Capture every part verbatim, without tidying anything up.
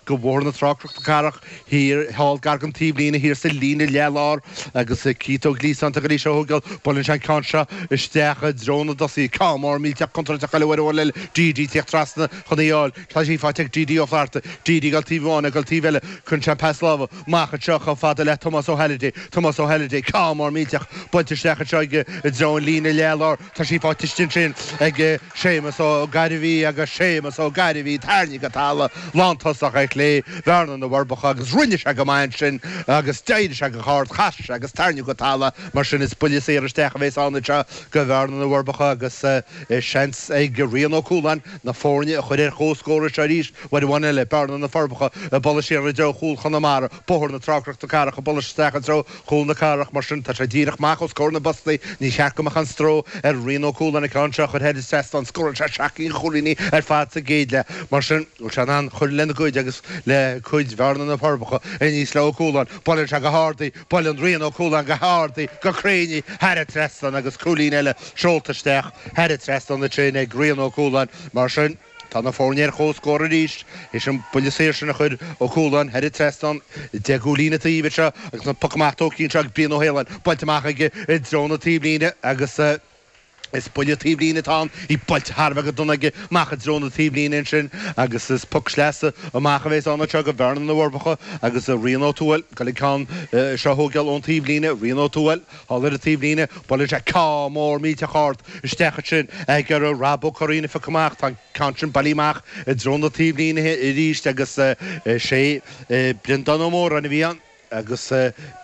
Go Bhóthar na Trá Cnoc na Cathrach thiar thall gar don taobhlíne thiar sa líne leath-lár agus Keith Ó Gliasáin tar éis a thógáil. Buaileann sé an ceann seo isteach i dtreo na dtosaithe. Ceann mór millteach contúirteach eile uair amháin eile. D D tíocht trasna chun í a fháil. Tá sí faighte ag D D Ó Flatharta. D D ag dul taobh amháin ag dul taobh eile. Cuireann sé an pas láimhe amach anseo chomh fada le Tomás Ó Halliday. Tomás Ó Halliday, ceann mór millteach buailte isteach anseo aige i dtreo an líne leath-lár. Tá sí faighte istigh ansin ag Séamus Ó Gairbhí agus Séamus Ó Gairbhí tarraingthe go talamh lántosach ar chlé Bhearna na bhForbacha agus rinne sé go maith ansin agus d'éirigh sé go hard, chas sé agus tarraingíodh go talamh mar sin is buille saor isteach a bheas ann anseo go Bhearna na bhForbacha agus seans ag Rian Ó Cualáin na foirne a chur ar comhscór anseo arís uair amháin eile. Bearna na Forbacha ag bualadh siar i dtreo chúl Chonamara, Bóthar na Trá Cnoc na Cathrach ag bualadh isteach i dtreo chúl na cathrach mar sin tá sé díreach amach os comhair na bpostaí. Ní cheart go mbeadh aon stró ar Rian Ó Cualáin an ceann seo a chur thar an trasnán. Scóráil sé seacht gcinn de chúilíní ar fad sa gcéad leath. Mar sin, bhfuil sé in ann cur lena gcuid agus le cuid Bhearna na Forbacha aníos le Ó Cualáin. Buaileann sé go hard í, buaileann Rian Ó Cualáin go hard í, go cruinn í, thar an trasnán agus cúilín eile seolta isteach thar an trasnán ansin ag Rian Ó Cualáin. Mar sin, tá na foirne ar comhscór arís théis an buille saor sin a chuir Ó Cualáin thar an trasnán. Deich gcúilín an taobh anseo agus an poc amach tógtha anseo ag Brian Ó hAoláin, buailte amach aige i dtreo na taobhlíne agus is buille taobhlíne atá ann, í buailte thar a bheith go dona aige amach i dtreo na taobhlíne ansin agus is poc sleasa amach a bheas ann anseo go Bhearna na bhForbacha agus Rian Ó Tuathail ag goil an ceann seo a thógáil ón taobhlíne. Rian Ó Tuathail thall ar an taobhlíne, buaileann sé ceann mór millteach ard isteach ansin ag iarraidh Rob Ó Curraoin a phiocadh amach. Tá an ceann sin bailithe amach i dtreo na taobhlíne arís agus is é Breandán Ó Móráin a bhí ann agus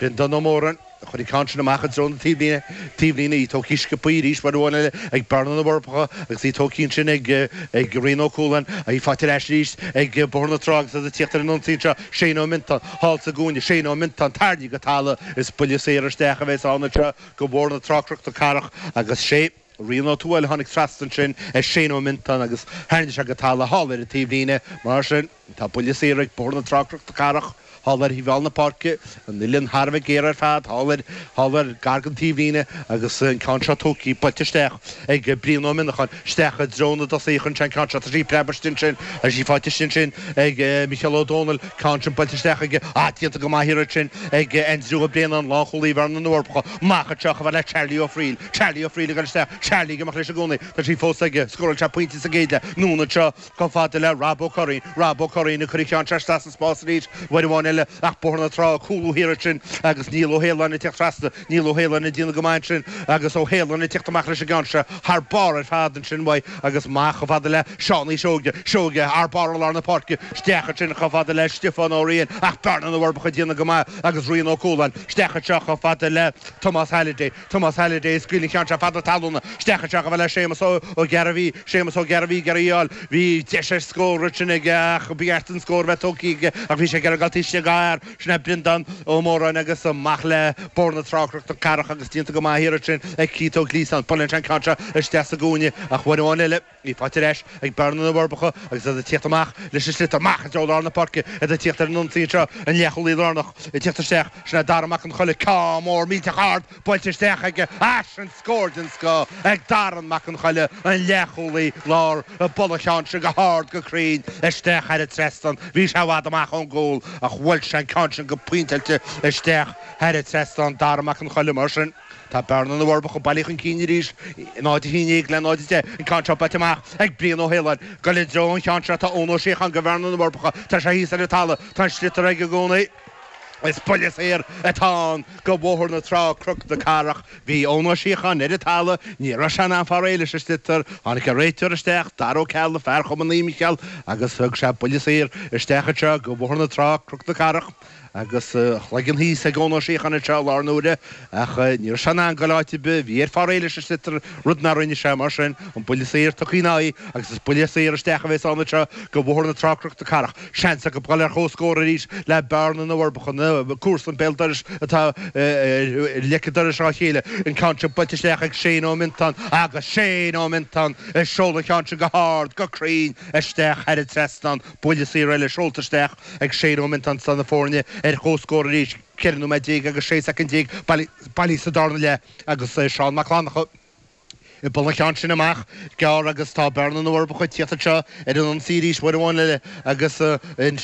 Breandán Ó Móráin a chuir an ceann sin amach i dtreo na taobhlíne, taobhlíne í tógtha sciobtha arís uair amháin eile ag Bearna na bhForbacha agus í tógtha ansin ag ag Rian Ó Cualáin, í faighte ar ais arís ag Bóthar na Trá agus iad ag tíocht ar an ionsaí anseo, Shane Ó Miontáin thall sa gcúinne, Shane Ó Miontáin tarraingthe go talamh, is buille saor isteach a bheas ann anseo go Bóthar na Trá Cnoc na Cathrach agus sé Rian Ó Tuathail a tháinig trasna ansin ar Shane Ó Miontáin agus tharraing sé go talamh thall ar an taobhlíne. Mar sin, tá buille saor ag Bóthar na Trá Cnoc na Cathrach thall ar thaobh thall na páirce, an uillinn thar a bheith géar ar fad thall ar thall ar gar don taobhlíne agus an ceann seo tógtha, buailte isteach ag Brian Ó Mionnacháin isteach i dtreo na dtosaithe chun an ceann seo. Tá sí preabtha istigh ansin agus í faighte istigh ansin ag Micheál Ó Domhnaill, ceann sin buailte isteach aige. Ah, déanta go maith thiar ansin ag Aindriú Ó Braonáin, lánchúlaí Bhearna na bhForbacha. Amach anseo chomh fada le Charlie Ó Frighil. Charlie Ó Frighil ag dul isteach. Charlie ag imeacht leis i gcónaí. Tá sí fós aige. Scóráil sé pointe sa gcéad leath. Anonn anseo chomh fada le Rob Ó Curraoin. Rob Ó Curraoin ag cur an cheann seo isteach sa spás arís uair amháin eile ach Bóthar na Trá ag cúlú thiar ansin agus Niall Ó hAoláin ag teacht trasna. Niall Ó hAoláin ag déanamh go maith ansin agus Ó hAoláin ag teacht amach leis an gceann seo thar barr ar fad ansin uaidh agus amach chomh fada le Seánie Seoige. Seoige thar barr i lár na páirce. Isteach ansin chomh fada le Stiofán Ó Riain ach Bearna na bhForbacha ag déanamh go maith agus Rian Ó Cualáin. Isteach anseo chomh fada le Tomás Halliday. Tomás Halliday ag scaoileadh an cheann seo fada talúna. Isteach anseo chomh fada le Séamus Ó Gairbhí. Séamus Ó Gairbhí ag iarraidh í a fháil. Bhí deis ar scór ansin aige ach ba cheart an scór a bheith tógtha aige ach bhí sé ag iarraidh dul taobh istigh dhá fhear. Sin é Breandán Ó Móráin agus amach le Bóthar na Trá Cnoc na Cathrach agus déanta go maith thiar ansin ag Keith Ó Gliasáin. Buaileann sé an ceann seo isteach sa gcúinne ach uair amháin eile í faighte ar ais ag Bearna na bhForbacha agus iad ag tíocht amach leis an sliotar amach i dtreo lár na páirce. Iad ag tíocht ar an ionsaí anseo, an leathchúlaí lárnach ag tíocht isteach. Sin é Dara Mac an Choiligh, ceann mór millteach ard buailte isteach aige. Ah, sin scór den scoth ag Darren Mac an Choiligh, an leathchúlaí láir ag bualadh an cheann sin go hard go cruinn isteach thar an trasnán. Bhí sé i bhfad amach ón gcúl ach bhuail sé an ceann sin go pointeáilte isteach thar an trasnán, Dara Mac an Choiligh. Mar sin, tá Bearna na bhForbacha bailithe chun cinn arís, náid a haon déag le náid a deich. An ceann seo buailte amach ag Brian Ó hAoláin. Goil i dtreo an cheann seo tá Eoin Ó Síocháin go Bhearna na bhForbacha. Tá sé thíos ar an talamh. Tá an sliotar aige i gcónaí. Is buille saor atá ann go Bhóthar na Trá, Cnoc na Cathrach. Bhí Eoin Ó Síocháin ar an talamh, ní raibh sé in ann fáil réidh leis an sliotar. Tháinig an réiteoir isteach, Dara Ó Ceallaigh, fear Chumann Naomh Micheál, agus thug sé buille saor isteach anseo go Bhóthar na Trá, Cnoc na Cathrach. Agus a chloigeann thíos ag Eoin Ó Síocháin anseo i láthair na huaire, ach ní raibh sé in ann goil áit ar bith. Bhí air fáil réidh leis an sliotar, rud nár rinne sé. Mar sin, an buille saor tugtha ina aghaidh agus is buille saor isteach a bheas ann anseo go Bhóthar na Trá, Cnoc na Cathrach. Seans acu dul ar comhscór arís le Bearna na bhForbacha, na comharsana béal dorais atá ar leic an dorais dá chéile. An ceann seo buailte isteach ag Shane Ó Miontáin agus Shane Ó Miontáin ag seoladh an cheann sin go hard, go cruinn isteach thar an trasnán. Buille saor eile seolta isteach ag Shane Ó Miontáin tá na foirne ar comhscór arís. Ceithre nóiméad déag agus sé soicind déag bailithe sa darna leath agus Seán Mac Fhlannchadha. Ag bualadh an ceann sin amach gearr agus tá bearna na bhForbacha ag tíocht anseo ar an ionsaí arís uair amháin eile agus an